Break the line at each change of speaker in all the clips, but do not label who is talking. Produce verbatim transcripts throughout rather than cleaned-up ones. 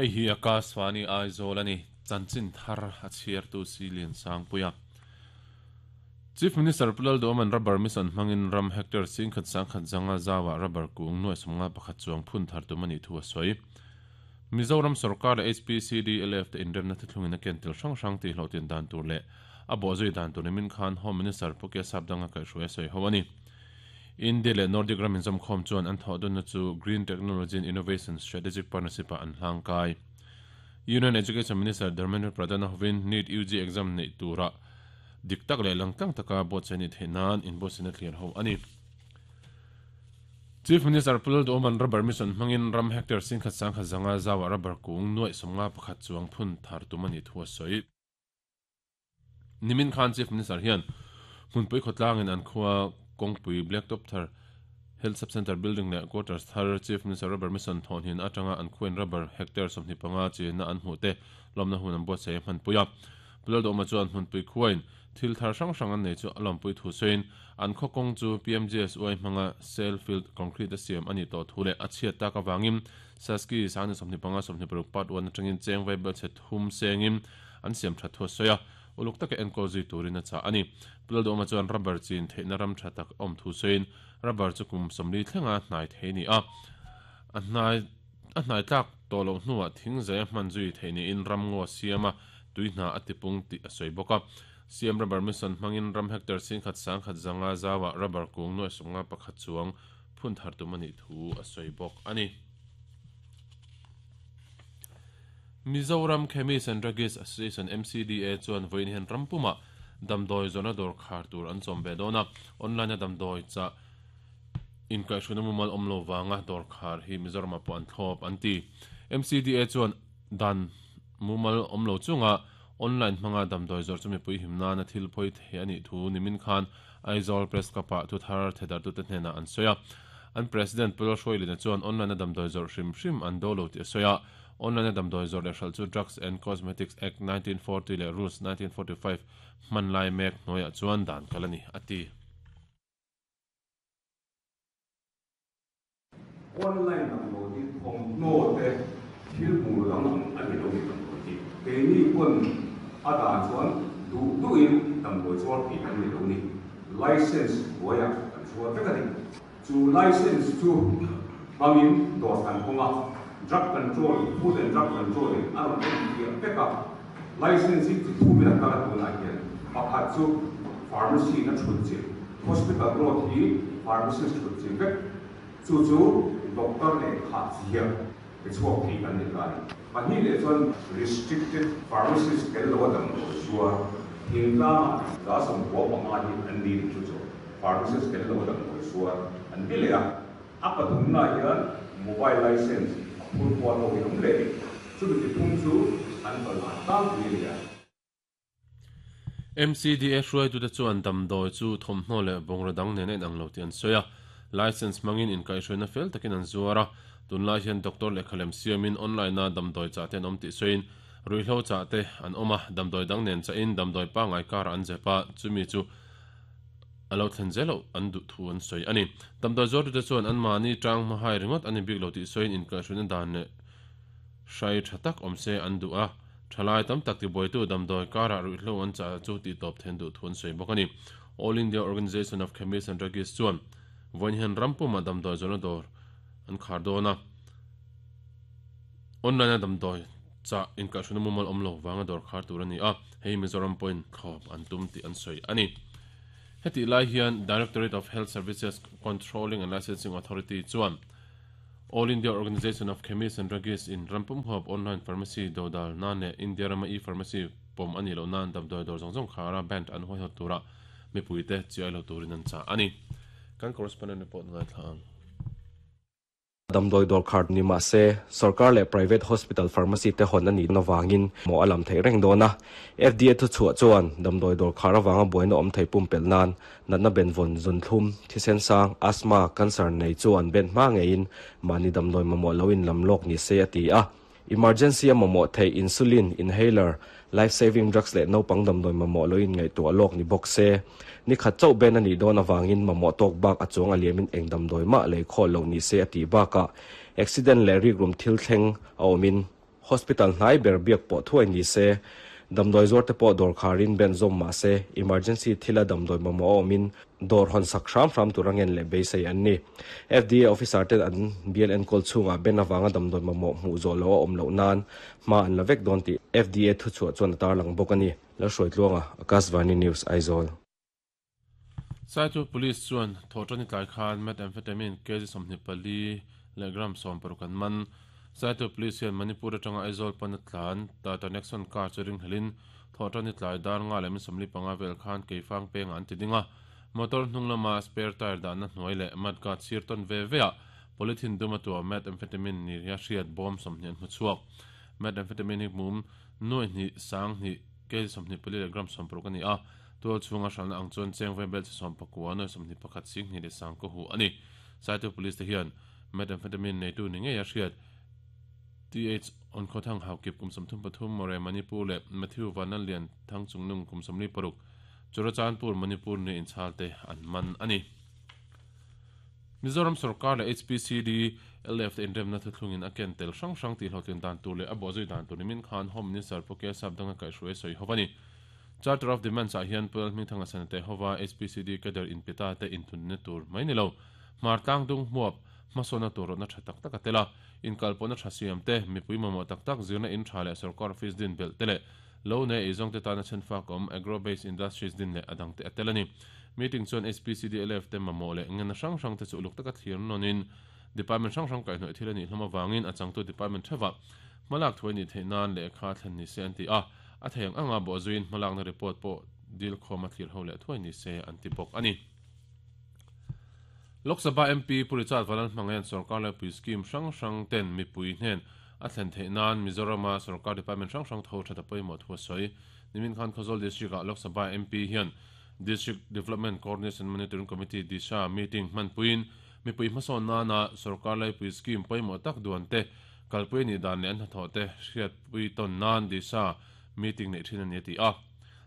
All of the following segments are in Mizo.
Hei hi Akashvani Aizawl ani chanchin thar a chhiar tu Silian Sangpuia. Chief Minister Pulal Doman rubber mission hmangin ram hectare singkhat sangkhat zanga zawa rubber kung nuai sawmnga pakhat chuang phun thar tum ani thu a sawi. Mizoram sarkar leh H P C D L F te inremna thuthlungin a ken tel hrang hrang tih hlawhtin dan tur leh a bawhzui dan tur nimin khan Home Minister Pu Kesap danga kaihhruai a sawi ho ani. India leh Nordic ram inzawm khawm chuan an thawh dunna chu Green Technology and Innovation Strategic Partnership ah an hlang kai. Union Education Minister Dharmendra Pradhan a hovin NEET U G exam neih turah dik tak leh langtlang taka buatsaih ni theih nan inbuatsaihna thlir ho ani. Chief Minister Pulal Doman rubber mission hmangin ram hectare singkhat sangkhat zanga zawa rubber kung nuai sawmnga pakhat chuang phun thar tum ani thu a sawi. Nimin khan Chief Minister hian hmunpui khawtlangin an khua kawngpui Blacktop thar Health Sub-Center building leh quarters thar Chief Minister rubber mission thawhnin atanga an khuain rubber hectare sawmhnih panga chenna an hmuh te lawmna hun an buatsaih a hmanpui a. Pulal Dawma chuan hmunpui khuain thil thar hrang hrang an nei chu a lawmpui thu sawiin an khaw kawng chu P M G S Y hmanga cell field concrete a siam ani tawh thu leh a chhiat tak avangin Saski sangni sawmhnih panga sawmhnih paruk part one atangin cheng vai bel chhe thum sengin an siam that thu a sawi a. Uluk taka enkawl zui turin a chah ani. Pulal Dawma chuan rubber chin theihna ram tha tak awm thu sawiin rubber chu kum sawmli thlenga hnai thei ni a. A hnai a hnai tlak tawh loh hnuah thing zai a hman zui theih niin ram ngaw siam a tui hna a tipung tih a sawi bawk a. Siam rubber mission hmangin ram hectare singkhat sangkhat zanga zawa rubber kung nuai sawmnga pakhat chuang phun thar tum ani thu a sawi bawk ani. Mizoram Chemist and Druggist Association M C D A chuan vawiin hian rampuma damdawi zawrhna dawr khar tur an chawm ve dawn a. Online a damdawi cha inkaihhruina mumal awm lo wanga dawr khar hi Mizoram ah pawh an thlawp an ti. M C D A chuan dan mumal awm lo chunga online hmanga damdawi zawrh chu mipui him nana thil phawi thei anih thu nimin khan Aizawl Press Club ah thu thar thedar tu te hnenah an sawi a. An President Pulal Hruailina chuan online a damdawi zawrh hrim hrim an do lo tih a sawi a. Online a damdawi zawrh leh hralh chu Drugs and Cosmetics Act nineteen forty leh Rules nineteen forty five hman lai mek hnuaiah chuan dan kal ani a ti.
Online damdawi hi thawmhnaw te thil hmuh dang ang a ni lo ni damdawi hi. Keini pawn a dan chuan duh duhin damdawi chuar thei kan ni lo ni. License hnuaiah kan chuar vek a ni. Chu license chu hmangin dawr kan hawng a, Drug Control, Food and Drug Control in a rawn en fiah vek a. License hi chi thumin a kal a tunah hian pakhat chu pharmacy na thut chilh, hospital road hi pharmacist thut chilh vek. Chu chu doctor leh khah ziak pe chhuak thei kan ni ta a ni. Pahnih leh chuan restricted pharmacist tel lo a damdawi zuar thingtlangah za sawmkua panga hi an ni chu chu pharmacist tel lo a damdawi zuar an ti leh a. A pathumnaah hian mobile license a phur kual ho hi awm leh ni. Chumi ti phung chu an pawlhan tlangpui a ni a.
M C D A hruaitute chuan damdawi chu thawmhnaw leh bungraw dang nen a inang lo tih an sawi a. License hmangin inkaihhruaina fel takin an zuar a. Tunlai hian doctor lehkha lem siamin online a damdawi chah te an awm tih sawiin ruihhlo chah te an awm a. Damdawi dang nen chahin damdawi pangngai karah an zep a, chumi chu a lo thlen zel loh an duh thu an sawi a ni. Damdawi zuartute chuan an mahni tang hmahai ringawt an inbik lo tih sawiin inkaihhruaina dan leh hrai tha tak awm se an duh a. Thalai tam tak tibuaitu damdawi karah ruihhlo an chah chu tih tawp then duh thu an sawi bawk a ni. All India Organisation of Chemists and Druggists chuan vawiin hian rampuma damdawi zawrhna dawr an khar dawn a. Online a damdawi chah inkaihhruaina mumal awm lo vanga dawr khar tur a ni a, hei Mizoram pawhin thlawp an tum tih an sawi a ni. Hetih lai hian Directorate of Health Services Controlling and Licensing Authority chuan All India Organisation of Chemists and Druggists in rampum huap online pharmacy dodal nan leh India rama e-pharmacy pawm a nih loh nan damdawi dawr zawng zawng khara band an huaihawt tura mipuite chiai lo turin an chah a ni. Kan correspondent report ngaithla ang.
Damdawi dawr khar ni mah se sarkar leh private hospital pharmacy te hawn ani na wangin mo alam thei reng dawn a. F D A thu chhuah chuan damdawi dawr khar awanga buaina awm thei pum pel nan natna ben vawn zun thlum thisen sang asthma cancer nei chu an ben hma ngeiin mahni damdawi mamawh lo in lam lawk ni se a ti a. Emergency a mamawh thei insulin inhaler life saving drugs leh naupang damdawi mamawh lo in ngaihtuah lawk ni bawk se. Ni khat chauh ben ani dawn awangin mamawh tawk bak a chuang a liamin eng damdawi mah lei khaw lo ni se a ti bakah accident leh rik rum thil thleng a awmin Hospital hnai ber biak pawh thuai ni se damdawi zuar te pawh dawr kharin ben zawm mah se emergency thila damdawi mamawh awmin dawr hawn sak hram hram tur angen leh beisei an ni. F D A officer ten an bial enkawl chhungah ben awanga damdawi mamawh hmuh zawh lo a awm loh nan hma an la vek dawn tih F D A thu chhuah chuan a tarlang bawk a ni. Lalhruai Tluanga, Akashvani News, Aizawl.
Saitu Police chuan thawhṭan tlai khan methamphetamine kg sawmhnih pali leh gram sawm paruk an man. Saitu Police hian Manipur atanga Aizawl pana tlan Tata Nexon car chu ringhlelin thawhṭan tlai dar nga leh min sawmli panga vel khan keifang penga an ti ding a. Motor hnung lama spare tire dahna hnuai leh mudguard sir tawn ve ve a polythene duma tua methamphetamine ni ria hriat bawm sawmhnih an hmu chhuak. Methamphetamine hi mum nuai hnih sang hnih kg sawmhnih pali leh gram sawm paruk a ni a. Tual chhunga hralhna ang chuan cheng vai bel chi sawm pakua nuai sawmhnih pakhat sing hnih leh sang ko hu a ni. Saitu Police te hian methamphetamine neitu ni ngei a hriat T H on khothang haukip kum sawmthum pathum More Manipur leh Matthew Vanlalian thang chungnung kum sawmli paruk Churachandpur Manipur ni inchhal te an man a ni. Mizoram Sarkar leh H P C D L F te inremna thuthlungin a ken tel hrang hrang tih hlawhtlin dan tur leh a bawhzui dan tur nimin khan Home Minister Pu K Sapdanga kaihhruai sawi ho a ni. Charter of Demands ah hian Puel Hmingthanga Sanate hova H P C D cadre inpita te inthunna tur mai ni lo. Hmar tlang dung hmuap hmasawna tur rawhna tha tak tak a tel a. Inkalpawhna tha siam te, mipui mamawh tak tak zirna in tha leh sarkar office din belh te leh lo ne eizawng te tana chenfak awm agro-based industries din leh adang te a tel a ni. Meeting chuan H P C D L F te mamawh leh ngena hrang hrang te chu uluk taka thlir nawnin department hrang hrang kaihhnawih thil a nih hlawm awangin a changtu department thewa hmalak thuai ni theih nan leh kha thlen ni se an ti a. A theiang anga bawhzuiin hmalakna report pawh dil khawm a thlir ho leh thuai ni se an ti bawk a ni. Lok Sabha M P Pu Richard Vanlalhmangahian sarkar laipui scheme hrang hrang ten mipui hnen a thlen theih nan Mizorama sarkar department hrang hrang tho thata pawimawh thu a sawi. Nimin khan Khawzawl District ah Lok Sabha M P hian District Development Coordination Monitoring Committee Disha meeting hmanpuiin mipui hmasawn nana sarkar laipui scheme pawimawh tak duan te kalpui ni dan leh an hnathawh te hriatpui tawn nan Disha meeting nei thin a ni a ti a.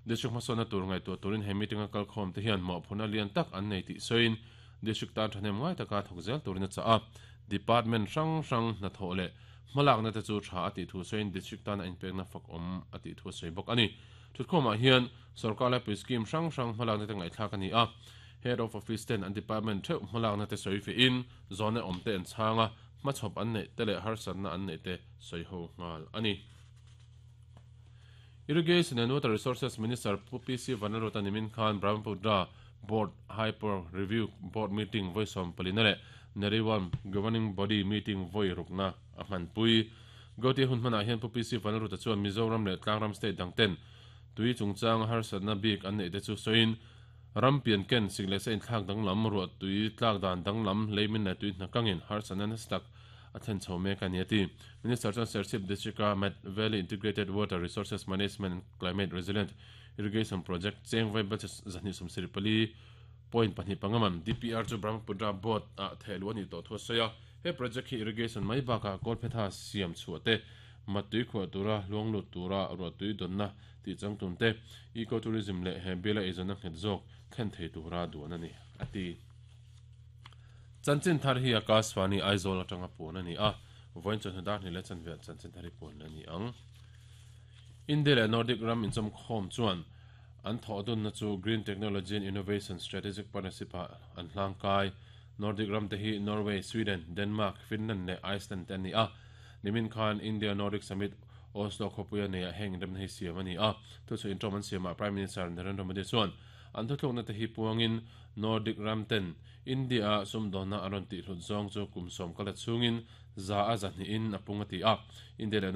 District hmasawna tur ngaihtuah turin he meeting a kalkhawm te hian mawhphurhna lian tak an nei tih sawiin district tan thahnem ngai taka thawk zel turin a chah a. Department hrang hrang hnathawh leh hmalakna te chu tha a tih thu sawiin district tan a inpekna fak awm a tih thu a sawi bawk a ni. Thutkhawmah hian sarkar laipui scheme hrang hrang hmalakna te ngaihthlak a ni a. Head of office ten an department theuh hmalakna te sawi fein zawn awm te an chhanga hmachhawp an neih te leh harsatna an neih te sawi ho nghal a ni. Irrigation and Water Resources Minister Pu P C Vanlalruata nimin khan Brahmaputra Board Hyper Review Board Meeting voisom palina leh Nariwan Governing Body Meeting voi rukna a hmanpui. Gauti hun hmanah hian Pu P C Vanlalruata chuan Mizoram leh Tlangram State dangten tui chungchang harsatna bik an neih te chu sawiin rampian ken sik leh sa inthlak danglam ruah tui tlak dan danglam leimin leh tui hnakangin harsatna nasa tak a thlen chho mek a ni a ti. Minister chuan Serchhip District a Mat Valley Integrated Water Resources Management and Climate Resilient Irrigation Project cheng vai bel zahnih sawmsarih pali point pahnih pangaman D P R chu Brahmaputra Board a thehlu a ni tawh thu a sawi a. He project hi irrigation mai bakah kawlphetha siam chhuah te matui khuah tura luanglut tura ruah tui dawnna tih changtun te ecotourism leh he biala eizawnna nghet zawk thlen thei tura duan a ni a ti. Chanchin thar hi Akashvani Aizawl atanga puan a ni a. Vawiin chawhnu dar hnih leh chanve chanchin thar hi puan a ni ang. India leh Nordic ram inchawm khawm chuan an thawhdunna chu Green Technology and Innovation Strategic Partnership ah an hlangkai. Nordic ram te hi Norway, Sweden, Denmark, Finland leh Iceland te an ni a. Nimin khan India Nordic Summit Oslo khawpuia nei ah heng remna hi siam a ni a. Thu chu intawm an siamah Prime Minister Narendra Modi chuan an thuthlukna te hi puangin Nordic ram ten India sumdawna an rawn tih hlut zawng chu kum sawm kala chungin za a zahnih in a pung a ti a. India leh